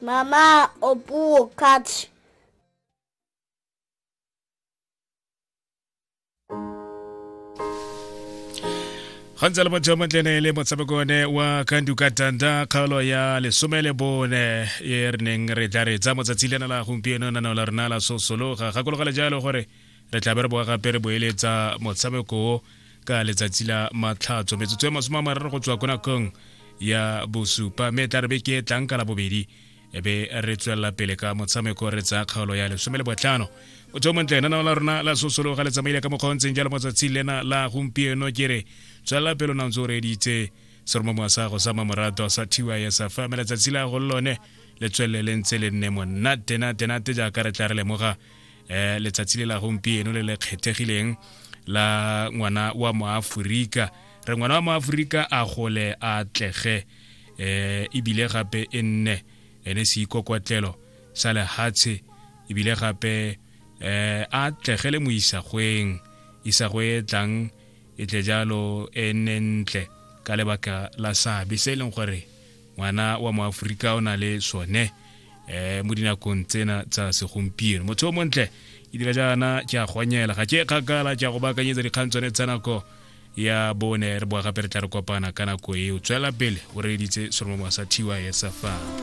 Mama opuo cat. Ga ntse le motho montlene le motshameko one wa Kanduka Tanda, kgaolo ya 14 e re neng re tla re tsa motsatsi lena la gompieno nanao la rona la sosologa. Gakologela jalo gore re tla be re boa gape re boeletsa motshameko o ka letsatsi la Matlhatso, metsotso e 30 go tswa ko nakong ya 7, mme tla re beke e tlang ka la bobedi e be re tswelela pele ka motshameko, re tsaya kgaolo ya 15. Motho o montle, nanao la rona la sosologa le tsamaile ka mokgwa o ntseng jalo motsatsi lena la gompieno. Ke re tswelela pele o na ntse o reeditse seromamowa sa go sa mamorato sa TYS fa mme letsatsi la go lone le tswelele le ntse le nne monate nate nate, jaaka re tla re lemoga letsatsi le la gompieno le le kgethegileng la ngwana wa Moaforika. Re ngwana wa Moaforika a gole, a atlege, ebile gape e nne ene seikokotlelo sa lehatshe, ebile gape a atlegele mo isagweng, isagwe e tlang e tle jalo e nne ntle ka lebaka la seabe se e leng gore ngwana wa Moaforika o na le sone mo dinakong tsena tsa segompieno. Motho o montle, ke dira jaana ke a gonyela, ga ke kgakala, ke a go baakanyetsa dikgang tsone tsa nako ya 4. Re boa gape re tla re kopana ka nako eo. Tswela pele o reeditse seromo sa TYS fa.